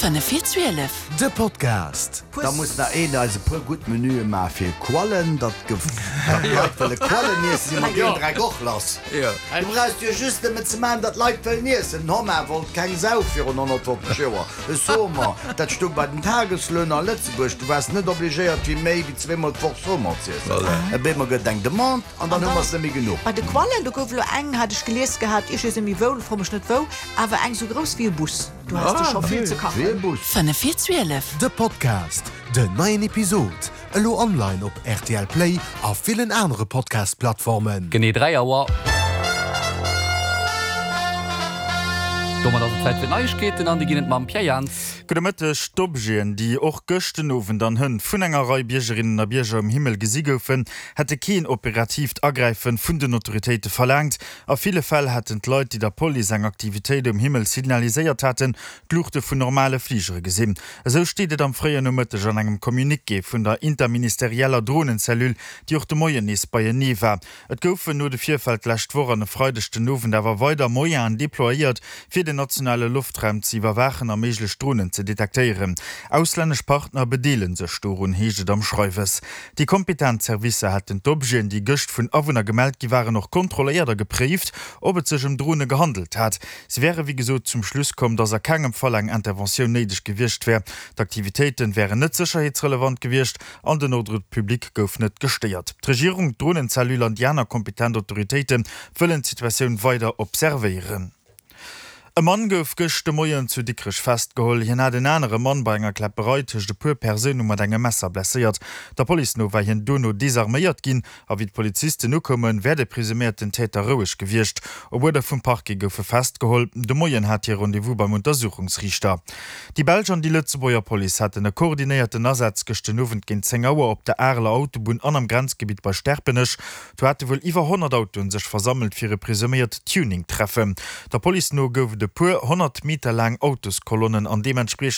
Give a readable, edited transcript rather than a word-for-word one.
5 vir 12. De Podcast. Da muss nach een eis e puer gutt Menüe maache fir Quallen, datt d'Leit wëlle Quallen iessen, si mer deen Dreck och lass. Du brauchst jo just nëmmen ze maachen, datt d'Leit wëllen iessen. Den Homard wollt keng Sau virun 150 Joer. E Saumon, dat stung bei den Tageslöhner a Lëtzebuerg. Du waars net obligéiert fir méi wéi zweemol d'Woch Saumon z'iessen. Op eemol gëtt et eng Demande an dann hu mer s net méi genuch. Bei de Quallen, do gouf elo eng, hat ech gelies gehat, ech weess net méi wou, fro mech net wou, awer eng sou grouss wéi e Bus. Du has de scho vill ze kachen. 5 vir 12. De Podcast, Den neien Episod elo online op rtl Play a villen anere Podcast-Plattformen. Genee 3 Auer. Domat ass et Zäit fir d'Neiegkeeten an déi ginn et mam Pierre Jans. Gudde Mëtteg. D'Objeten, déi och gëscht den Owend an hënt vun enger Rei Biergerinnen a Bierger um Himmel gesi goufen, hätte keen operatiivt Agräife vun den Autoritéite verlaangt. A ville Fäll hätten d'Leit, déi der Police eng Aktivitéit um Himmel signaliséiert haten, d'Luuchte vun normale Fligere gesinn. Esou steet et am fréien Nomëtteg an engem Communiqué vun der interministerieller Dronencellule, déi och de Moien nees beienee war. Et goufen no de Virfäll d'lescht Woch an e Freideg den Owend awer weider Moyenen deployéiert, fir den nationale Loftraum ze iwwerwaachen a méiglech Dronen ze detektéieren. Auslännesch Partner bedeele sech dorun, heescht et am Schreiwes. Déi kompetent Servicer hätten d'Objeten, déi gëscht vun Awunner gemellt gi waren, och kontrolléiert a gepréift, ob et sech ëm Drone gehandelt hat. Si wäre wéi gesot zum Schluss komm, datt a kengem Fall eng Interventioun néideg gewiescht wär. D'Aktivitéite wären net sécherheetsrelevant gewiescht an den Ordre public gouf net gestéiert. D'Regierung, d'Dronencellule an déi aner kompetent Autoritéite wëllen d'Situatioun weider observéieren. E Mann gouf gëscht de Moien zu Dikrech festgeholl. Hien hat en anere Mann bei enger Kläpperei tëscht e puer Persoune mat engem Messer blesséiert. Der Police no war hien dono desarméiert ginn a wéi d'Polizisten ukoumen, wär de presuméierten Täter roueg gewiescht. Op Uerder vum Parquet gouf e festgeholl. De Moien hat hie Rendez-vous beim Untersuchungsriichter. Déi belsch an déi Lëtzebuerger Police haten e koordinéierten Asaz gëscht den Owend géint 10 Auer op der Areler Autobunn an am Grenzgebitt bei Sterpenech. Do hate wuel iwwer 100 Autoen sech versammelt fir e presuméiert Tuning-Treffen. Der Police no gouf et e puer 100 Meter laang Autoskolonnen an deementspriechend.